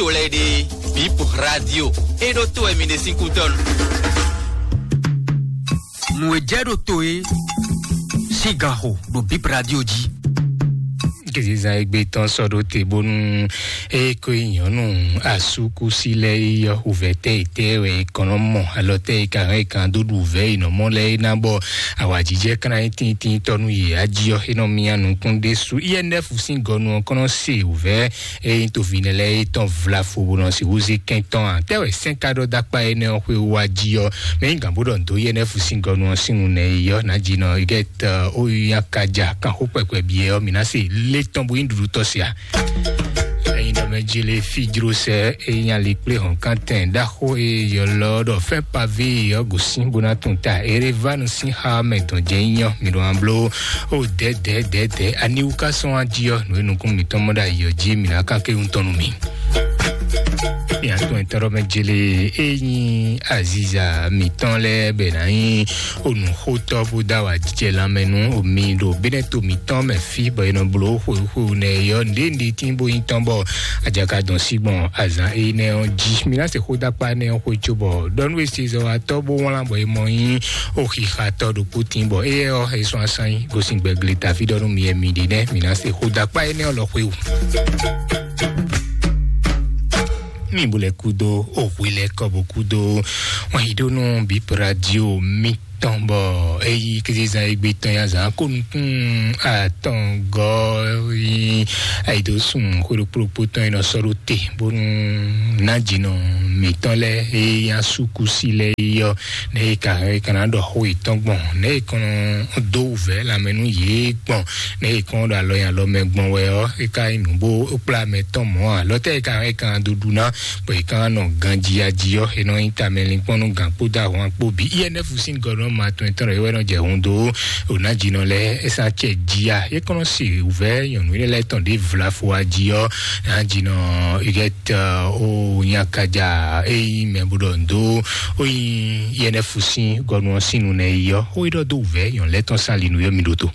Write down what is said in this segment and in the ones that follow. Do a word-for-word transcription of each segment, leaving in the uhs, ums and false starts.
to lɛ́ɛ ɖe, Bip Radio, é ɖó to wɛ mi ɖe sín kútɔ́nu. Nǔ e jɛ ɖo to e sín gan xo ɖo Bip Radio jí. Kizizan egbe tɔn sɔ ɖo te bónú eye ko nyɔnu asúkúsi lɛ yi yɔ wuvɛ tɛ yi tɛ wɛ kɔnɔ mɔ alɔ tɛ yi ka hɛn kan dó ɖu wuvɛ yi nɔ mɔ lɛ yi na bɔ awajijɛ kana yi tin tin tɔnu yi aji ɔ enɔ mia nukun ɖe su I N F sín gɔnu ɔ kɔnɔ se wuvɛ eye to vi nɛ lɛ yi tɔn vla fo bó nɔ si wuzi kɛn tɔn a tɛ wɛ sɛn ka ɖɔ dakpa enɛ ɔ xwe wa ji ɔ mɛ yi gan bó ɖɔ ndo I N F sín gɔnu ɔ sín nu nɛ yi yɔ na ji nɔ yi kɛ tɛ o yi ya ka ja kan xó kpɛkpɛ biɛ ɔ mi na se lé tɔn bo yi ɖuɖu tɔ sia. Eyin ɖɔ mɛ jele fi jro sɛ eyin ali kple hɔn kantɛn ɖaxó e yɔlɔ ɖɔ fɛn pavé ɔ gosin bó na tún ta erevanu sín xa mɛ dɔn jɛ nyɔ mi ɖo an blo o dɛ dɛ dɛ dɛ aniwu ka sɔn aji ɔ nú enukun mitɔn mɔ ɖe ayɔ jí mi na kan ke ŋutɔn nu mi. Miatɔn etɔ́ ɖɔ mɛ jele eyin aziza mitɔn lɛ bɛ na nyi onuxotɔ bó da wa jijɛ lanmɛ nú omi ɖo benɛto mitɔn mɛ fi bɔ e nɔ blo xwexwe nɛ yɔ nɖe nɖe tín bó nyí tɔn bɔ ajaka dɔn sí gbɔn azan énɛ́ ɔ́ jí. Mi ná se xó dó akpá énɛ́ ɔ́ xwé cóbɔ ɖɔ nú esezɔwatɔ́ bó wlán bɔ é mɔ nyí oxixatɔ́ ɖokpó tín bɔ éyɛ́ ɔ́ é sɔ́ asán nyí gosín gbɛgle taví ɖɔ nú mi e mi ɖi nɛ́ mi ná se xó dó akpá énɛ́ ɔ́ lɔ xwé wú. Mi bó lɛ kúdó òhwe lɛ kɔ bó kúdó wọn yi ɖó nú bíp radio mi tɔn bɔ eyi kézezan egbe tɔn ya zan kó nukún atɔn gɔ yi ayi ɖó sùn xwé ɖokpó ɖokpó tɔn yi nɔ sɔ́ ɖó te bónú ná jinɔ mǐtɔn lɛ eyi ya súkúsi lɛ yi yɔ ne yi ka yi ka ná ɖɔ xó yětɔn gbɔn ne yi kɔn dó wǔvɛ́ lanmɛ nú yě gbɔn ne yi kɔn ɖo alɔ nyi alɔ mɛ gbɔn wɛ ɔ́ é ka nyí nǔ bó kplá mɛ tɔn mɔ̌ ǎ lɔtɛ́ yi ka yi ka do ɖu ná bɔ yi ka nɔ ganji ya ji ɔ́ é nɔ nyí tamɛlinkpɔ́n nú gǎn kpódó ahwan kpó bǐ I N F sín gɔnɔ ma tɔn tɔn ɖɔ é wɛ nɔ jɛ hun dó ɖo ná jinɔ lɛ é sá cɛ ji ya é kɔn nɔ se wǔvɛ́ nyɔ̌nu énɛ́ lɛ́ɛ tɔn ɖě vlafo wá ji ɔ́ ná jinɔ igɛt o nyakaja é nyí mɛ bó ɖɔ ndo ó nyí I N F sín gɔnɔ ɔ́ sín nu nɛ yi ɔ́ ó yi ɖɔ dó wǔvɛ́ nyɔ̌nu lɛ́ɛ tɔn sán li nú yɔ́ mi ɖótó.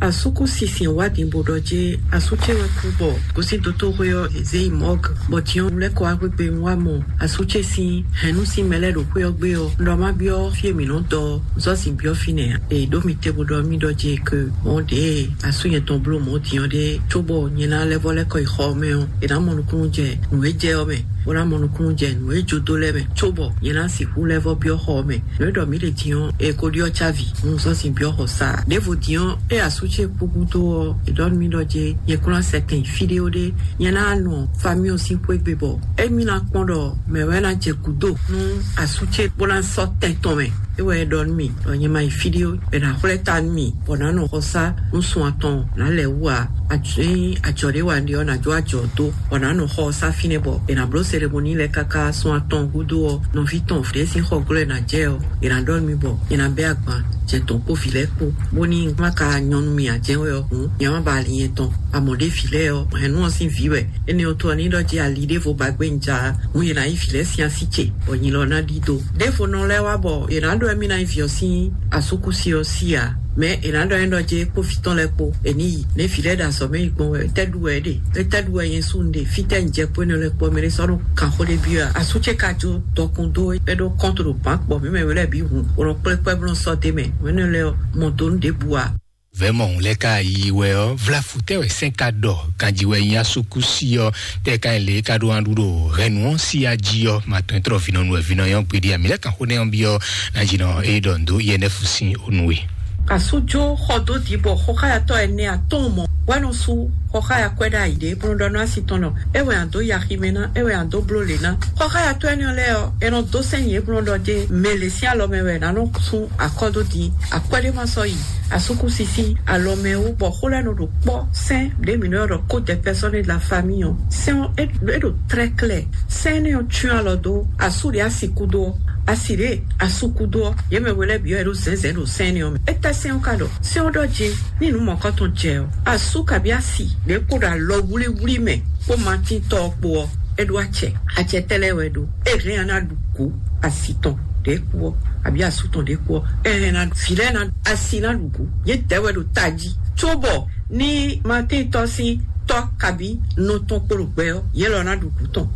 Asúkú sisin wá din bó ɖɔ jé asú ce wɛ kú bɔ gosín dotóxwé ɔ́ è zé yi mɔ̌g bɔ din ɔ́ lɛ́ kɔ wá gbégbé un wá mɔ asú ce sín hɛ̌nnu sín mɛ lɛ́ɛ ɖo xwé ɔ́ gbé ɔ́ un ɖɔ má byɔ́ fí e mǐ nɔ́ dɔ ɔ́ zɔ́ sin byɔ́ fínɛ́ ǎ. È ɖǒ mi te bó ɖɔ mì ɖɔ jé ke mɔ̌ ɖě asú nyɛ tɔn bló mɔ̌ din ɔ́ ɖé cóbɔ nyɛ ná lɛ́ vɔ́ lɛ́ kɔ yi xɔ ɔ́ mɛ ɔ́ è nǎ mɔ nukúnnú jɛ nǔ e jɛ ɔ́ mɛ bó ná mɔ nukúnnú jɛ nǔ e jó dó lɛ́ɛ mɛ cóbɔ nyɛ ná sixú lɛ́ vɔ́ byɔ́ xɔ ɔ́ mɛ. Nǔ e ɖɔ mǐ ɖe din ɔ́, è ko ɖyɔ́ cávi, un sɔ́ sin byɔ́ xɔ sa. Ɖěvo din ɔ́, é asú ce kú gúdo ɔ́, è ɖɔ nú mì ɖɔ jé nyɛ kún ná sɛ kɛn nyi fí ɖé ó ɖé, nyɛ ná nɔ famíɔ sín xwé gbe bɔ émí ná kpɔ́n ɖɔ mɛ̌ wɛ ná jɛ gǔdo nú asú ce bó ná sɔ́ tɛn tɔn mɛ. É wɛ é ɖɔ nú mì ɖɔ nyɛ ma yi fí ɖé ó, è nǎ xwlɛ́ ta nú mì bɔ nǎ nɔ xɔsá nú sun atɔn nǎ lɛ́ wú ǎ. Ényí ajɔ ɖé wa un ɖe ɔ́, nǎ jó ajɔ dó, bɔ nǎ nɔ xɔsá fínɛ́ bɔ è nǎ bló seremoní lɛ́ɛ káká sun atɔn gúdo ɔ́, nɔví tɔn ɖě sín xɔ glɔ́ è nǎ jɛ ɔ́, è nǎ ɖɔ nú mì bɔ è nǎ bɛ́ agban jɛ tɔn kpó vǐ lɛ́ɛ kpó, bóní má ka nyɔ́ nú mì ǎ jɛ́n wɛ ɔ́ hǔn, nyɛ má ba ali nyɛ tɔn. Amɔ̌ ɖé vǐ lɛ́ɛ ɔ́, hɛ̌nnu ɔ́ sín vǐ wɛ. Énɛ́ ɔ́ tó ɔ́, ní ɖɔ jí ali ɖěvo ba gbé un ja hǔn, è nǎ yí vǐ lɛ́ɛ sín así ce, bɔ nyi lɔ ná ɖídó. Ɖěvo nɔ lɛ́ɛ wá bɔ è nǎ ɖɔ émí ná nyí vǐ ɔ́ sín asúkúsi ɔ́ sí ǎ. Mɛ è nǎ ɖɔ é ɖɔ jé kpó vǐ tɔn lɛ́ɛ kpó è ní yi. Nɛ̌ vǐ lɛ́ɛ ɖo azɔ̌ mɛ yi gbɔn wɛ? Étɛ́ ɖu wɛ é ɖe? Étɛ́ ɖu wɛ nyɛ sú un ɖe? Fítɛ́ un jɛ kpó énɛ́ lɛ́ɛ kpó ɔ́, mɛ ɖé sɔ́ nɔ kan xó ɖé byɔ́ ǎ. Asú ce ka jó dɔkun dó é ɖó kɔ́ntu ɖo bǎn kpɔ mǐ mɛ wé lɛ́ɛ bǐ hǔn, bó nɔ kplé kpɛ́ bó nɔ sɔ́ d'é mɛ. Mɛ énɛ́ lɛ́ɛ ɔ́, mɔ do nú ɖěbǔ ǎ. Vɛ̌ mɔ hǔn lɛ́ɛ ka yi wɛ ɔ́, vlafu tɛ́ wɛ sɛ́n ka ɖɔ ganji wɛ nyi asúkúsi ɔ́, tɛ́ ka nyí lě e ka ɖó wan ɖu ɖo hɛ̌nnu ɔ́ sí ají ɔ́, ma tɔn trɔ vǐnɔnu wɛ vǐnɔ nyɔ́ gbeɖé a mǐ lɛ́ kan xó nɛ́ ɔ́ byɔ́ ná jí nɔ é ɖɔ nǔ dó I N F sín onu we. Asújó xɔ dó dǐ bɔ xɔxáyatɔ́ ɛnɛ atɔ́ɔ́n mɔ wɛ nɔ sú xɔxáyakwɛ́ ɖ'ayǐ ɖé bó nɔ ɖɔ nú asi tɔn nɔ é wɛ a dǒ yi aximɛ ná, é wɛ a dǒ bló lě ná. Xɔxáyatɔ́ énɛ́ lɛ́ɛ ɔ́, è nɔ dó sɛ́n nyi é bó nɔ ɖɔ jé mɛ lě sín alɔ mɛ wɛ ná nɔ sú akɔ́ dó din. Akwɛ́ ɖé ma sɔ́ yi asúkúsi sín alɔ mɛ wú bɔ xó lɛ́ɛ nɔ ɖo kpɔ́ sɛ́n ɖě mǐ nɔ ylɔ́ ɖɔ code personnel de la famille ɔ́. Sɛ́n ɔ́ é é ɖo très clair. Sɛ́n énɛ́ ɔ́ cyɔ́n alɔ dó asú ɖě asi kúdó ɔ́, asi ɖě asú kúdó ɔ́, yě mɛ we lɛ́ɛ bǐ ɔ́ è ɖo zɛ̌nzɛ̌n ɖo sɛ́n énɛ́ ɔ́ mɛ. É tɛ́ sɛ́n ɔ́ ka ɖɔ? Sɛ́n ɔ́ ɖɔ jé ní nǔ mɔ̌kɔtɔn jɛ ɔ́, asú kabí asi ɖě kpo ɖo alɔ wlíwlí mɛ kpó matíntɔ́ ɔ́ kpó ɔ́, é ɖó acɛ. Acɛ tɛ́ lɛ́ɛ wɛ ɖó? É hɛn ɔ́ ná ɖu kǔ asi tɔn ɖě kú ɔ́, abǐ asú tɔn ɖě kú ɔ́, é hɛn ná vǐ lɛ́ɛ ná asi ná ɖu kǔ. Yě dɛ̌ wɛ ɖo tají cóbɔ ní matíntɔ́ sín Tɔ́ kabí nɔ tɔn kpo ɖo gbɛ ɔ́, yě lɔ ná ɖu gǔ tɔn.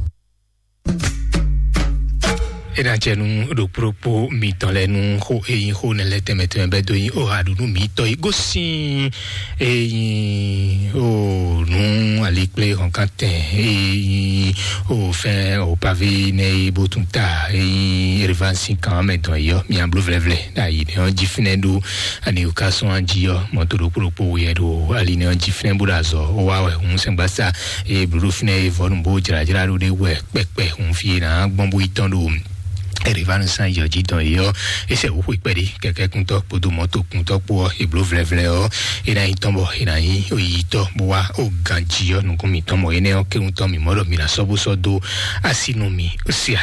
É ná jɛ nú ɖokpóɖokpó mitɔn lɛ́ɛ nú xó e nyí xó nɛ́ lɛ́ɛ tɛnmɛ tɛnmɛ bɛ́ dó nyí o haɖunu mitɔn yi gosín e nyí o nú alikplé hɔnkantɛn e nyí o fɛn o pavé nɛ́ e bó tún ta e nyí Erivansi kan mɛ dɔn yi ɔ́, mia bló vlɛ́vlɛ́ ɖo ayi nɛ́ ɔ́ jí fínɛ́ ɖó ani o ka sɔ́n jí ɔ́, mɔto ɖokpó ɖokpó wɛ ɖo ali nɛ́ ɔ́ jí fínɛ́ bó ɖo azɔ̌ ó wá wɛ hǔn sɛngbásá e bló ɖo fínɛ́ e vɔ́nu bó jlǎjlá ɖó ɖé wɛ kpɛkpɛ hǔn fí e nǎ gbɔn bó yi tɔn ɖo Erivanu san yɔ jí dɔn yɔ ese wò xwe kpɛɖi kɛkɛ kuntɔ kpodo mɔto kuntɔ kpo ɔ eblo vlɛvlɛ ɔ ena yi tɔn bɔ ena yi oyi tɔ bó wá o ganji ɔ nukun mi tɔn mɔ enɛ ɔ kéwun tɔn mi mɔ ɖɔ mi na sɔ bó sɔ do asi nu mi sia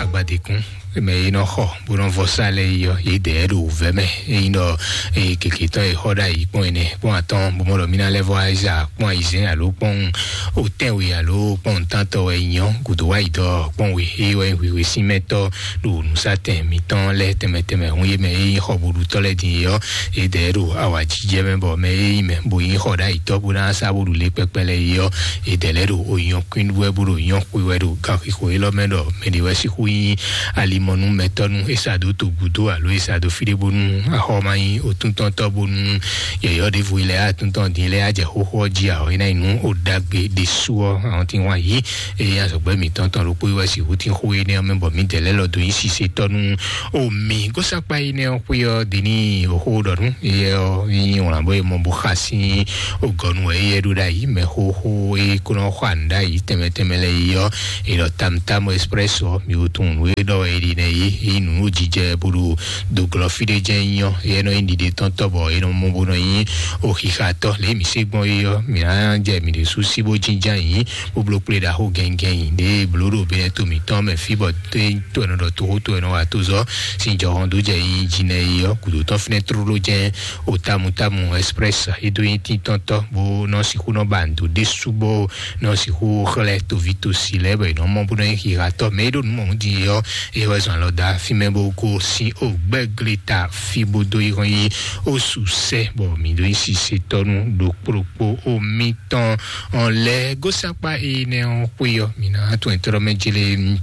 agbadekun mɛ yi nɔ xɔ bó nɔ vɔ sa lɛ yi ɔ yi dɛ ɖo vɛ mɛ eyi nɔ eye keke tɔn yi xɔ ɖa yi kpɔn enɛ kpɔn atɔn bó mɔ ɖɔ mi na lɛ vɔ ayiza kpɔn ayizɛn alo kpɔn o tɛnwe alo kpɔn ntantɔ wɛ nyɔ gudo wa yi dɔ kpɔn we eye wɛ hwihwe sin mɛ tɔ ɖo nusatɛn mitɔn lɛ tɛmɛ tɛmɛ hun ye mɛ eyi xɔ boɖutɔ lɛ din yi ɔ edɛ ɖo awajijɛ mɛ bɔ mɛ eyi mɛ bo yi xɔ ɖa yi tɔ bo na sa boɖu le kpɛkpɛ lɛ yi ɔ edɛ lɛ ɖo oyɔn kuin wɛ bo ɖo yɔn xwe wɛ ɖo gan xixo elɔ mɛ ɖɔ mɛ ɖe wɛ sixu yi alimɔnu mɛtɔnu esa do to gudo alo esa do fi ɖe bonu axɔ ma yi otuntɔntɔ bonu yɔyɔ ɖevo yi lɛ atuntɔn din lɛ ajɛ xoxo ɔ ji ahɔ yi na yi nu o dagbe ɖesu ɔ àwọn tí wọn yi eye azɔgbɛ mitɔn tɔn ɖokpó yi wɛ si hu tí xo yi ne ɔmɛ bɔ mi dɛ lɛ lɔ do yi sise tɔnu o mi gosa kpa yi ne ɔ xwe ɔ dini o xo ɖɔ nu eye ɔ yi wọn bɔ yi mɔ bo xa si o gɔnu eye ɖo ɖa yi mɛ xoxo eye kó nɔ xɔ anu ɖa yi tɛmɛ tɛmɛ lɛ yi ɔ eye ɖɔ tam tam express ɔ mi o tun nu e ɖɔ e ɖi nɛ yi yi nu o jijɛ bolo doglɔ fi ɖe jɛ nyɔ eye nɔ yi ɖiɖe tɔn tɔ bɔ e nɔ mɔ bo nɔ yi o xixa tɔ le mi se gbɔn yi ɔ mi na jɛ mi ɖe su si bo jinjan yi bo blo kple ɖaxo gɛngɛn yi ɖe blo ɖo be to mitɔn mɛ fi bɔ to to ɛnɔ ɖɔ to to ɛnɔ wa to zɔ sin jɔhɔn do jɛ yi jinɛ yi ɔ kudo tɔn finɛ trolo jɛ o tamu tamu express e do yi titɔn tɔ bo nɔ sixu nɔ ba ndo ɖe su bo nɔ sixu xlɛ tovi tosi lɛ bɔ yi nɔ mɔ bo nɔ yi xixa tɔ mɛ e ɖo nu mɔ di yɔ e wɛ zɔn alɔ da fi mɛ bo ko sin o gbɛgle ta fi bo do yi hɔn yi o su sɛ bɔ mi do yi sise tɔnu ɖo kpokpo o mi tɔn ɔn lɛ gosakpa e nɛ ɔn xwe yɔ mi na tɔn ɛtɔrɔ mɛ jele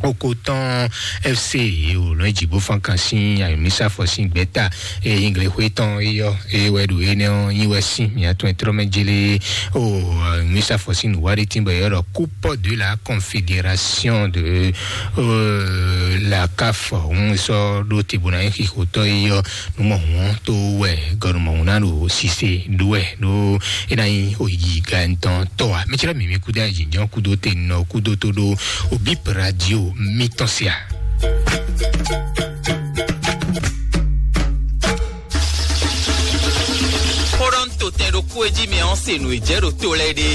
oko tɔn fc o lɔ dzi bo fan kan sin ayomisa fɔ sin gbɛta e yingli xwe tɔn e yɔ e wɛ ɖo e nɛ ɔn nyi wɛ sin mi atɔn ɛtɔrɔ mɛ jele o ayomisa fɔ sin nuwa de tin bɔ yɔ dɔ coupe de la confédération de euh, la caf hun sɔ ɖo tibuna yi xixotɔ yi yɔ numɔ hun to wɛ gɔnumɔ hun na ɖo sise ɖo wɛ ɖo e na yi oyi ga ntɔn tɔ wa mi tsira mi mi kudo ayi jɔn kudo te nɔ kudo to ɖo o bip radio mi tɔn sia. Xó ɖɔ ń to tɛn ɖokpó e jí mi ɔ́ se nǔ e jɛ ɖo to lɛ́ɛ ɖe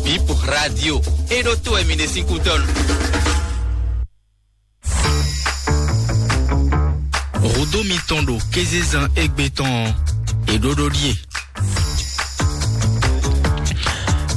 bip radio e ɖo to wɛ mi ɖe sín kútɔ́nu. Hudó mitɔn ɖo kézezán égbé tɔn ɔ́, è ɖó ɖó ɖíe.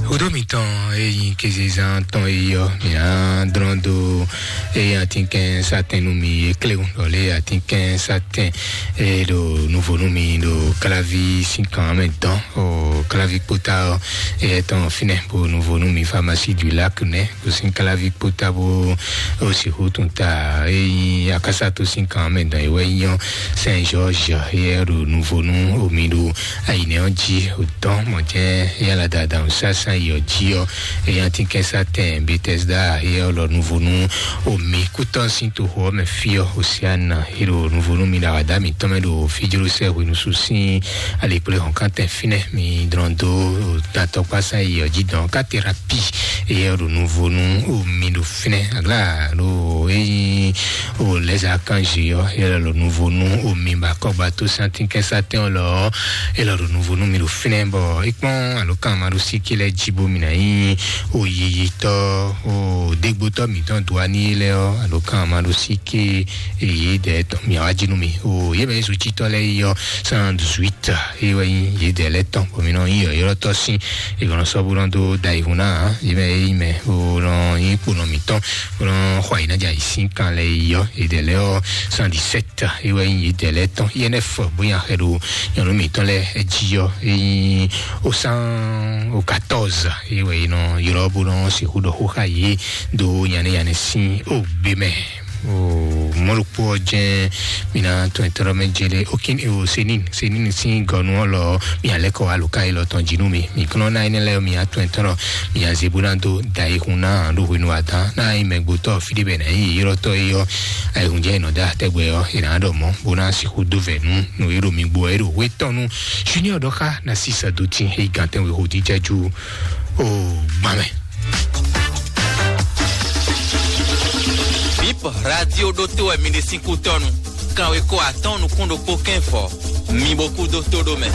Hudó mitɔn e nyí kézezán tɔn e yɔ mǐ ná dlɔ́n dó eye atínkɛn satɛn nú mi e kléwún ɖɔ lé atínkɛn satɛn e ɖo nuvo nú mi ɖo káláví sín kan mɛ dɔn o káláví kpótá ɔ eye tɔn fínɛ bo nuvo nú mi pharmacie du lac nɛ bó sín káláví kpótá bó o sixú tún ta e nyí akásá tó sín kan mɛ dɔn e wɛ nyɔ Saint George e ɖo nuvo nú omi ɖo ayinɛ ɔ jí o tɔn mɔ jɛ yala dada o sásán yi ɔ jí ɔ eya ti kɛsá tɛn Bethesda e ɔ lɔ nuvo nú omi kútɔ sín toxo ɔ mɛ fí ɔ Hosiana e ɖo nuvo nú mi ɖo awada mitɔn mɛ ɖo fíjló sɛ hwenusu sín alikplé hɔn kántɛn fínɛ mi dlɔn dó tatɔkpásá yi ɔ jí dɔn ká terapi e ɔ ɖo nuvo nú omi ɖo fínɛ aglá ɖo eyi o lɛza kanji ɔ e lɔ ɖo nuvo nú omi ba kɔgba tó santin kɛsá tɛn ɔ lɔ e lɔ ɖo nuvo nú mi ɖo fínɛ bɔ ikpɔn alo kan ma ɖo síkí lɛ jí bo mi na nyí o yiyitɔ o dégbótɔ mitɔn do ani lɛ ɔ alo kan ma ɖo síkí eyi dɛ tɔn mi awa jí nú mi o yé mɛ zutitɔ lɛ yi ɔ cent dix-huit ye wɛ nyí yě dɛ lɛ tɔn bɔ mi nɔ nyí yɔyɔtɔ sín ìgbɔnɔ sɔbúrɔ dó da ihun náà yé mɛ Eyi mɛ o nɔ yi kponɔ mǐtɔn o nɔ xɔ yi nájà yi sín kan lɛ yi yɔ edɛlɛ ɔ cent dix-sept. Ewɛ yi edɛlɛ tɔn yɛnɛ fɔ bóyá xɛ ɖo nyɔnu mǐtɔn lɛ ji yɔ eyi o cent o quatorze. Ewɛ yi nɔ ylɔ bó nɔ sixú ɖɔ xó xa yi do yanɛ yanɛ sín o gbé mɛ. O mɔɖokpó ɔ́ jɛ́n mi ná tɔn ɛtɔ́ mɛ jele okin o senin senin sín gɔnu ɔ́ lɔ mi alɛ kɔ aluka yi lɔ tɔn jinu mi mi kɔnɔ ná ɛnɛ lɛ mi atɔn ɛtɔ́ mi aze bó ná dó da ihun ná ɖo hwenu adán ná yi mɛgbótɔ fíɖé bɛ ná yi yrɔtɔ yi ɔ ayihun jɛ nɔ da tɛgbɛ ɔ yi ná ɖɔ mɔ bó ná sixú dó vɛ nú nú yi ɖo mi gbó ɛ ɖo hwé tɔn nú junior ɖɔ xa na sisa dó tin eyi gantɛn wé hodi jaju o gbamɛ. Bip radio ɖo to wɛ mi ɖe sín kú tɔnu. Kanwe ko atɔn nukún ɖokpó kɛn fɔ. Mi bo kú dó tó ɖó mɛ.